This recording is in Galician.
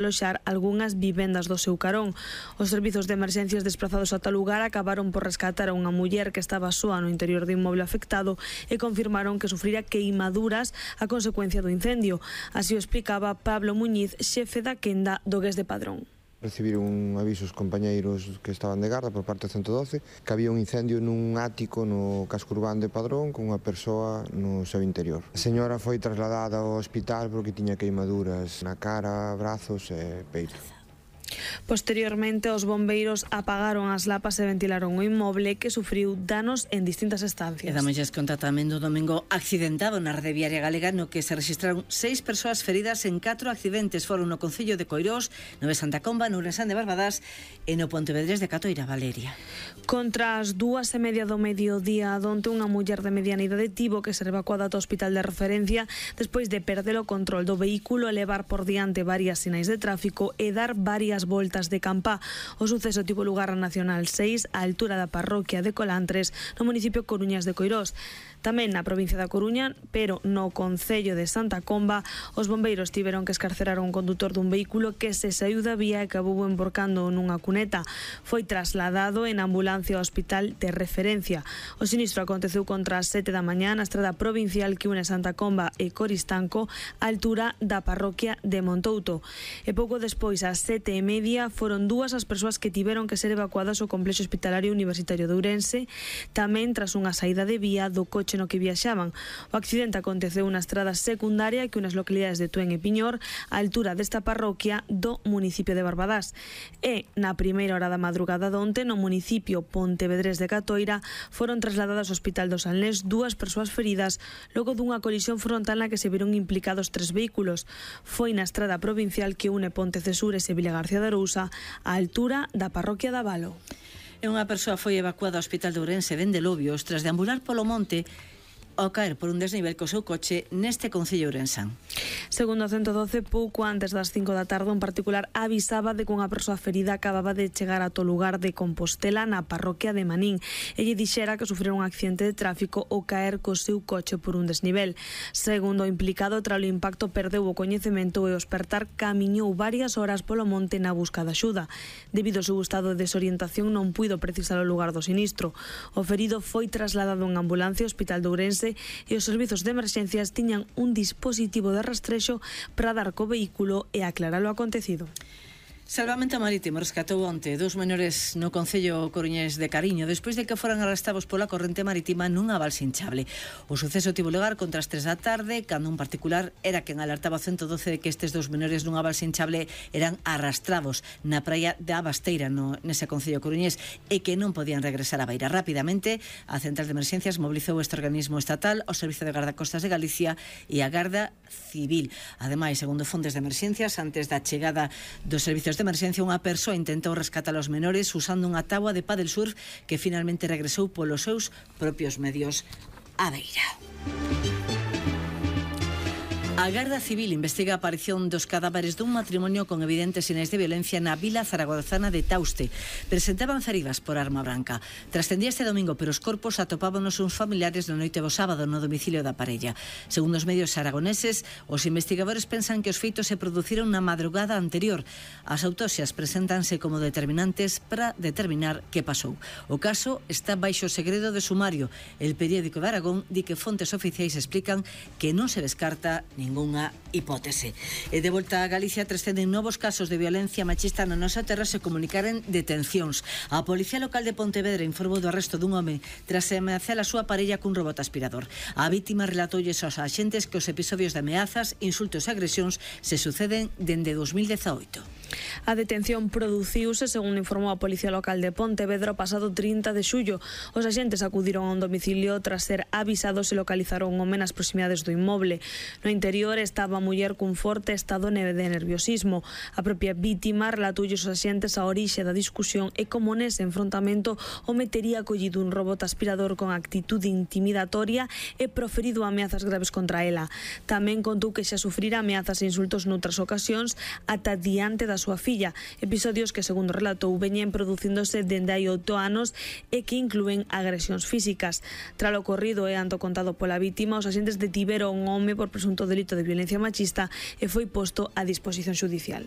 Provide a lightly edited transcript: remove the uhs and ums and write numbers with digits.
aloxar algunhas vivendas do seu carón. Os servizos de emerxencias desplazados ata o lugar acabaron por rescatar a unha muller que estaba soa no interior do inmoble afectado e confirmaron que sufrira queimaduras a consecuencia do incendio. Así o explicaba Pablo Muñiz, xefe da quenda do GES de Padrón. Recibiron un aviso os compañeiros que estaban de garda por parte do 112 que había un incendio nun ático no casco urbano de Padrón con unha persoa no seu interior. A señora foi trasladada ao hospital porque tiña queimaduras na cara, brazos e peito. Posteriormente, os bombeiros apagaron as lapas e ventilaron o inmoble que sufriu danos en distintas estancias. E damosles conta tamén do domingo accidentado na rede viaria galega no que se registraron 6 persoas feridas en 4 accidentes. Foron no Concello de Coirós, no de Santa Comba, no Ourensán de Barbadás e no Pontevedrés de Catoira, Valeria. Contra as 2:30 do mediodía donte unha muller de mediana idade tivo que ser evacuada ao hospital de referencia despois de perder o control do vehículo e levar por diante varias sinais de tráfico e dar varias voltas de campa. O suceso tivo lugar na Nacional 6 á altura da parroquia de Colantres no municipio Coruñas de Coirós. Tamén na provincia da Coruña, pero no Concello de Santa Comba, os bombeiros tiveron que escarcerar un condutor dun vehículo que se saíu da vía e acabou emborcando nunha cuneta. Foi trasladado en ambulancia ao hospital de referencia. O sinistro aconteceu contra as 7 da mañá na estrada provincial que une Santa Comba e Coristanco á altura da parroquia de Montouto. E pouco despois, ás 7:30, foron 2 as persoas que tiveron que ser evacuadas ao complexo hospitalario universitario de Ourense, tamén tras unha saída de vía do coche no que viaxaban. O accidente aconteceu na estrada secundaria que unas localidades de Tuén e Piñor á altura desta parroquia do municipio de Barbadás. E na primeira hora da madrugada donte no municipio Pontevedrés de Catoira foron trasladadas ao Hospital do Salnés 2 persoas feridas logo dunha colisión frontal na que se viron implicados 3 vehículos. Foi na estrada provincial que une Pontecesures e Vila García de Arousa á altura da parroquia da Valo. E unha persoa foi evacuada ao Hospital de Ourense dende Lobios tras deambular polo monte ao caer por un desnivel co seu coche neste Concello ourensán. Segundo o 112, pouco antes das 5 da tarde, un particular avisaba de que unha persoa ferida acababa de chegar ata o lugar de Compostela na parroquia de Manín. Elle dixera que sufrera un accidente de tráfico ao caer co seu coche por un desnivel. Segundo o implicado, tras o impacto perdeu o coñecemento e o espertar camiñou varias horas polo monte na busca de axuda. Debido ao seu estado de desorientación non puido precisar o lugar do sinistro. O ferido foi trasladado en ambulancia ao Hospital de Ourense e os servizos de emerxencias tiñan un dispositivo de rastrexo para dar co vehículo e aclarar o acontecido. Salvamento Marítimo rescatou onte 2 menores no Concello coruñés de Cariño despois de que foran arrastados pola corrente marítima nunha balsa hinchable. O suceso tivo lugar contra as 3 da tarde cando un particular era quen alertaba ao 112 de que estes 2 menores nunha balsa hinchable eran arrastrados na praia da Basteira nese Concello coruñés e que non podían regresar á beira. Rapidamente, a Central de Emerxencias mobilizou este organismo estatal, o Servizo de Gardacostas de Galicia e a Garda Civil. Ademais, segundo fontes de emerxencias, antes da chegada dos servizos de emerxencia, unha persoa intentou rescatar os menores usando unha táboa de paddle surf que finalmente regresou polos seus propios medios á beira. A Garda Civil investiga a aparición dos cadáveres dun matrimonio con evidentes sinais de violencia na vila zaragozana de Tauste. Presentaban feridas por arma branca. Trascendía este domingo, pero os corpos atopábanos uns familiares na noite do sábado no domicilio da parella. Segundo os medios aragoneses, os investigadores pensan que os feitos se produciron na madrugada anterior. As autopsias preséntanse como determinantes para determinar que pasou. O caso está baixo segredo de sumario. El periódico de Aragón di que fontes oficiais explican que non se descarta ningunha hipótese. E de volta a Galicia trascenden novos casos de violencia machista na nosa terra se comunicaren detencións. A Policía Local de Pontevedra informou do arresto dun home tras ameazar a súa parella cun robot aspirador. A vítima relatoulle aos axentes que os episodios de ameazas, insultos e agresións se suceden dende 2018. A detención produciuse, según informou a Policía Local de Pontevedra, o pasado 30 de xullo. Os axentes acudiron a un domicilio tras ser avisados e localizaron un home nas proximidades do inmoble. No interior estaba a muller cun forte estado de nerviosismo. A propia vítima relatoulle os axentes a orixe da discusión e como nese enfrontamento o metería collido un robot aspirador con actitude intimidatoria e proferido ameazas graves contra ela. Tamén contou que xa sufrira ameazas e insultos noutras ocasións ata diante da súa filla, episodios que, segundo relatou, veñen producíndose dende hai 8 anos e que inclúen agresións físicas. Tras o ocorrido e anto contado pola vítima, os axentes detiveron un home por presunto delito de violencia machista e foi posto a disposición xudicial.